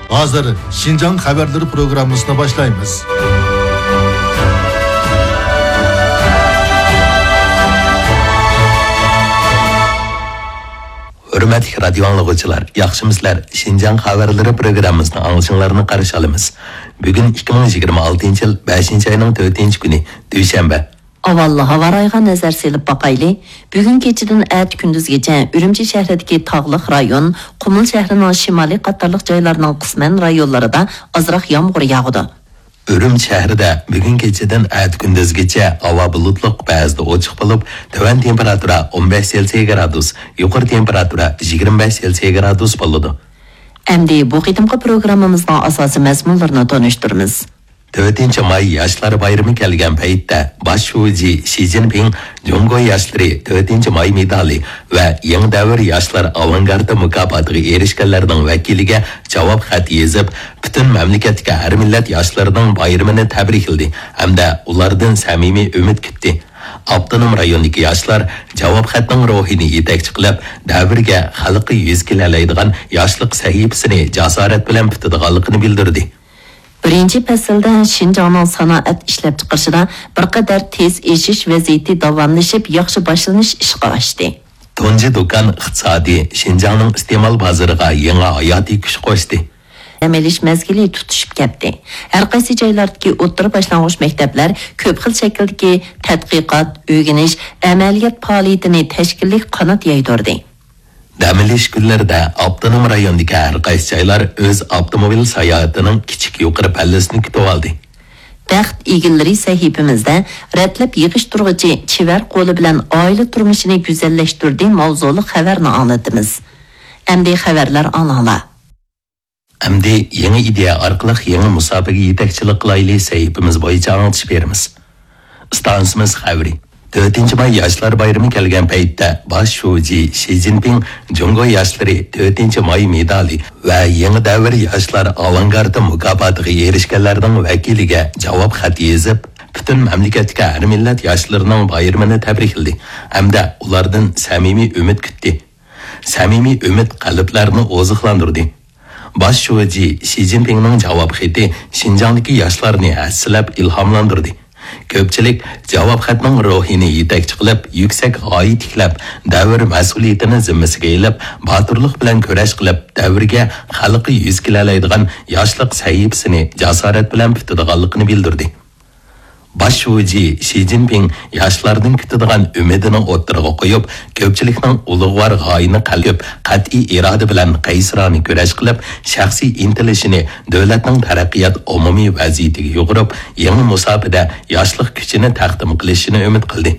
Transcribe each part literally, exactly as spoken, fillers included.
ھازىر شىنجاڭ خەۋەرلىرى پروگراممىسىنى باشلايمىز. ھۆرمەتلىك رادىيو ئاڭلىغۇچىلار، ياخشىمۇسىلەر؟ شىنجاڭ خەۋەرلىرى پروگراممىسىنى ئاڭلىشىڭلارنى قارشى ئالىمىز. بۈگۈن ئىككى مىڭ يىگىرمە ئالتىنچى يىل بەشىنچى ئاينىڭ تۆتىنچى كۈنى، دۈشەنبە. ئاۋۋال ھاۋا رايىغا نەزەر سېلىپ باقايلى. بۈگۈن كېچىدىن ئەتە كۈندۈزگىچە ئۈرۈمچى شەھىرىدىكى تاغلىق رايون، قۇمۇل شەھىرىنىڭ شىمالىي قاتارلىق جايلارنىڭ قىسمەن رايونلىرىدا ئازراق يامغۇر ياغىدۇ. ئۈرۈمچى شەھىرىدە بۈگۈن كېچىدىن ئەتە كۈندۈزگىچە ھاۋا بۇلۇتلۇق، بەزىدە ئوچۇق بولۇپ، تۆۋەن تېمپېراتۇرا ئون بەش سېلسىيە گرادۇس، يۇقىرى تېمپېراتۇرا يىگىرمە بەش سېلسىيە گرادۇس بولىدۇ. ئەمدى بۇ قېتىمقى پروگراممىمىزنىڭ ئاساسىي مەزمۇنلىرىنى تونۇشتۇرىمىز. تۆتىنچى ماي ياشلار بايرىمى كەلگەن پەيتتە، باش شۇجى شى جىنپىڭ جۇڭگو ياشلىرى تۆتىنچى ماي مېدالى ۋە يېڭى دەۋر ياشلار ئاۋانگارتى مۇكاپاتىغا ئېرىشكەنلەرنىڭ ۋەكىلىگە جاۋاب خەت يېزىپ، پۈتۈن مەملىكەتتىكى ھەر مىللەت ياشلىرىنىڭ بايرىمىنى تەبرىكلىدى ھەمدە ئۇلاردىن سەمىمىي ئۈمىد كۈتتى. ئاپتونوم رايوندىكى ياشلار جاۋاب خەتنىڭ روھىنى يېتەكچى قىلىپ، دەۋرگە، خەلققە يۈز كېلەلەيدىغان ياشلىق سەھىپىسىنى جاسارەت بىلەن پۈتىدىغانلىقىنى بىلدۈردى. بىرىنچى پەسىلدە شىنجاڭنىڭ سانائەت ئىشلەپچىقىرىشىدا بىر قەدەر تېز ئېشىش ۋەزىيىتى داۋاملىشىپ، ياخشى باشلىنىش ئىشقا ئاشتى. تۇنجى دۇكان ئىقتىسادى شىنجاڭنىڭ ئىستېمال بازىرىغا يېڭى ھاياتىي كۈچ قوشتى. دەم ئېلىش مەزگىلى تۇتىشىپ كەتتى. ھەر قايسى جايلاردىكى ئوتتۇرا باشلانغۇچ مەكتەپلەر كۆپ خىل شەكىلدىكى تەتقىقات، ئۆگىنىش، ئەمەلىيەت پائالىيىتىنى تەشكىللىك قانات يايدۇردى. دەم ئېلىش كۈنلىرىدە ئاپتونوم رايوندىكى ھەر قايسى جايلار ئۆز ئاپتوموبىل ساياھىتىنىڭ كىچىك يۇقىرى پەللىسىنى كۈتۈۋالدى. بەخت ئىگىلىرى سەھىپىمىزدە رەتلەپ يىغىشتۇرغۇچى چېۋەر قولى بىلەن ئائىلە تۇرمۇشىنى گۈزەللەشتۈردى ماۋزۇلۇق خەۋەرنى ئاڭلىتىمىز. ئەمدى خەۋەرلەر ئاڭلاڭلار. ئەمدى يېڭى ئىدىيە ئارقىلىق يېڭى مۇساپىگە يېتەكچىلىك قىلايلى سەھىپىمىز بويىچە ئاڭلىتىش بېرىمىز. ئىستانسىمىز خەۋىرى. تۆتىنچى ماي ياشلار بايرىمى كەلگەن پەيتتە باش شۇجى شى جىنپىڭ جۇڭگو ياشلىرى تۆتىنچى ماي مېدالى ۋە يېڭى دەۋر ياشلار ئاۋانگارتى مۇكاپاتىغا ئېرىشكەنلەرنىڭ ۋەكىلىگە جاۋاب خەت يېزىپ، پۈتۈن مەملىكەتتىكى ھەر مىللەت ياشلىرىنىڭ بايرىمىنى تەبرىكلىدى ھەمدە ئۇلاردىن سەمىمىي ئۈمىد كۈتتى. سەمىمىي ئۈمىد قەلبلەرنى ئوزۇقلاندۇردى. باش شۇجى شى جىنپىڭنىڭ جاۋاب خېتى شىنجاڭدىكى ياشلارنى ھەسسىلەپ ئىلھاملاندۇردى. كۆپچىلىك جاۋاب خەتنىڭ روھىنى يېتەكچى قىلىپ، يۈكسەك غايە تىكلەپ، دەۋر مەسئۇلىيىتىنى زىممىسىگە ئېلىپ، باتۇرلۇق بىلەن كۈرەش قىلىپ، دەۋرگە، خەلققە يۈز كېلەلەيدىغان ياشلىق سەھىپىسىنى جاسارەت بىلەن پۈتىدىغانلىقىنى بىلدۈردى. باش شۇجى شى جىنپىڭ ياشلاردىن كۈتىدىغان ئۈمىدىنى ئوتتۇرىغا قويۇپ، كۆپچىلىكنىڭ ئۇلۇغۋار غايىنى قەلب، قەتئىي ئىرادە بىلەن قەيسىرانە كۈرەش قىلىپ، شەخسىي ئىنتىلىشىنى دۆلەتنىڭ تەرەققىيات ئومۇمىي ۋەزىيىتىگە يۇغۇرۇپ، يېڭى مۇساپىدە ياشلىق كۈچىنى تەقدىم قىلىشىنى ئۈمىد قىلدى.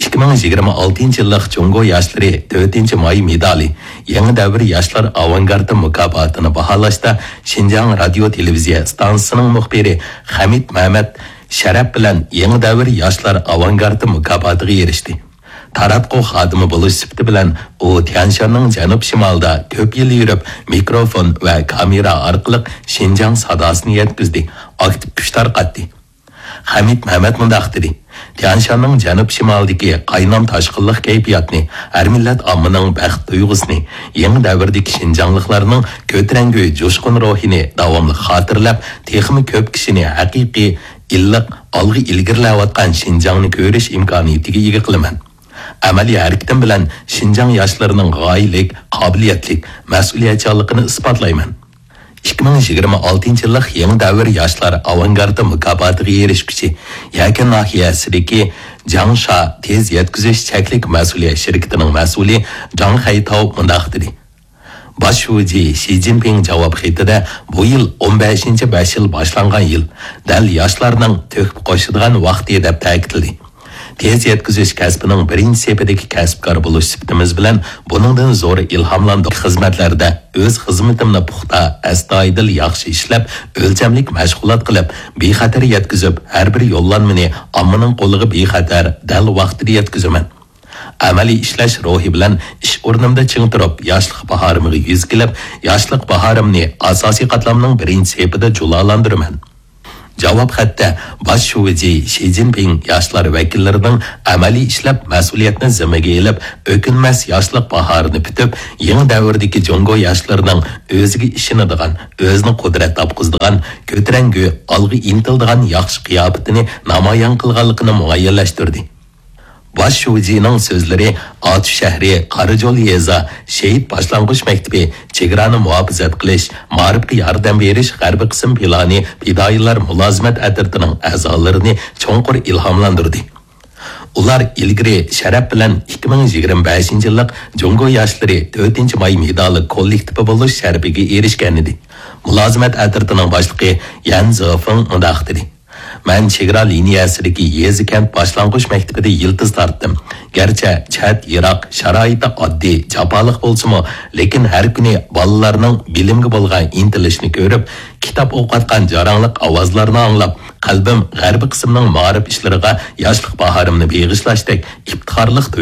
ئىككى مىڭ يىگىرمە ئالتىنچى يىللىق جۇڭگو ياشلىرى تۆتىنچى ماي مېدالى، يېڭى دەۋر ياشلار ئاۋانگارتى مۇكاپاتىنى باھالاشتا شىنجاڭ رادىيو تېلېۋىزىيە ئىستانسىسىنىڭ مۇخبىرى خەمىت مەمەت شەرەپ بىلەن يېڭى دەۋر ياشلار ئاۋانگارتى مۇكاپاتىغا ئېرىشتى. تاراتقۇ خادىمى بولۇش سۈپىتى بىلەن ئۇ تيەنشاننىڭ جەنۇب شىمالىدا كۆپ يىل يۈرۈپ، مىكروفون ۋە كامېرا ئارقىلىق شىنجاڭ ساداسىنى يەتكۈزدى، ئاكتىپ كۈچ تارقاتتى. خەمىت مەمەت مۇنداق دېدى، تيەنشاننىڭ جەنۇب شىمالىدىكى قاينام تاشقىنلىق كەيپىياتنى، ھەر مىللەت ئاممىنىڭ بەخت تۇيغۇسىنى، يېڭى دەۋردىكى شىنجاڭلىقلارنىڭ كۆتۈرەڭگۈ جۇشقۇن روھىنى داۋاملىق خاتىرىلەپ، تېخىمۇ كۆپ كىشىنى ھەقىقىي، ئىللىق، ئالغا ئىلگىرىلەۋاتقان شىنجاڭنى كۆرۈش ئىمكانىيىتىگە ئىگە قىلىمەن. ئەمەلىي ھەرىكىتىم بىلەن شىنجاڭ ياشلىرىنىڭ غايىلىك، قابىلىيەتلىك، مەسئۇلىيەتچانلىقىنى ئىسپاتلايمەن. ئىككى مىڭ يىگىرمە ئالتىنچى يىللىق يېڭى دەۋر ياشلار ئاۋانگارتى مۇكاپاتىغا ئېرىشكۈچى، يەكەن ناھىيەسىدىكى جاڭشا تېز يەتكۈزۈش چەكلىك مەسئۇلىيەت شىركىتىنىڭ مەسئۇلى جاڭ خەيتاۋ مۇنداق دېدى، باش شۇجى شى جىنپىڭ جاۋاب خېتىدە بۇ يىل ئون بەشىنچى بەش يىل باشلانغان يىل، دەل ياشلارنىڭ تۆھپە قوشىدىغان ۋاقتى، دەپ تەكىتلىدى. تېز يەتكۈزۈش كەسپىنىڭ بىرىنچى سېپىدىكى كەسىپكار بولۇش سۈپىتىمىز بىلەن بۇنىڭدىن زور ئىلھاملاندۇق. خىزمەتلەردە ئۆز خىزمىتىمنى پۇختا، ئەستايىدىل ياخشى ئىشلەپ، ئۆلچەملىك مەشغۇلات قىلىپ، بىخەتەر يەتكۈزۈپ، ھەر بىر يوللانمىنى ئاممىنىڭ قولىغا بىخەتەر، دەل ۋاقتىدا يەتكۈزىمەن. ئەمەلىي ئىشلەش روھى بىلەن ئىش ئورنۇمدا چىڭ تۇرۇپ، ياشلىق باھارىمغا يۈز كېلىپ، ياشلىق باھارىمنى ئاساسىي قاتلامنىڭ بىرىنچى سېپىدا جۇلالاندۇرىمەن. جاۋاب خەتتە باش شۇجى شى جىنپىڭ ياشلار ۋەكىللىرىنىڭ ئەمەلىي ئىشلەپ، مەسئۇلىيەتنى زىممىگە ئېلىپ، ئۆكۈنمەس ياشلىق باھارىنى پۈتۈپ، يېڭى دەۋردىكى جۇڭگو ياشلىرىنىڭ ئۆزىگە ئىشىنىدىغان، ئۆزىنى قۇدرەت تاپقۇزىدىغان، كۆتۈرەڭگۈ، ئالغا ئىنتىلىدىغان ياخشى قىياپىتىنى نامايان قىلغانلىقىنى مۇئەييەنلەشتۈردى. باش شۇجىنىڭ سۆزلىرى ئاتۇش شەھىرى، قاراجول يېزا، شېھىت باشلانغۇچ مەكتىپى، چېگرانى مۇھاپىزەت قىلىش، مائارىپقا ياردەم بېرىش غەربىي قىسىم پىلانى پىدائىيلار مۇلازىمەت ئەترىتىنىڭ ئەزالىرىنى چوڭقۇر ئىلھاملاندۇردى. ئۇلار ئىلگىرى شەرەپ بىلەن ئىككى مىڭ يىگىرمە بەشىنچى يىللىق جۇڭگو ياشلىرى تۆتىنچى ماي مېدالى كوللېكتىپى بولۇش شەرىپىگە ئېرىشكەنىدى. مۇلازىمەت ئەترىتىنىڭ باشلىقى يەن زېفېڭ مۇنداق دېدى: مەن چېگرا لىنىيەسىدىكى يېزا كەنت باشلانغۇچ مەكتىپىدە يىلتىز تارتتىم. گەرچە چەت، يىراق، شارائىتى ئاددىي، جاپالىق بولسىمۇ، لېكىن ھەر كۈنى بالىلارنىڭ بىلىمگە بولغان ئىنتىلىشىنى كۆرۈپ، كىتاب ئوقۇۋاتقان جاراڭلىق ئاۋازلارنى ئاڭلاپ، قەلبىم غەربىي قىسىمنىڭ مائارىپ ئىشلىرىغا ياشلىق باھارىمنى بېغىشلاشتەك ئىپتىخارلىق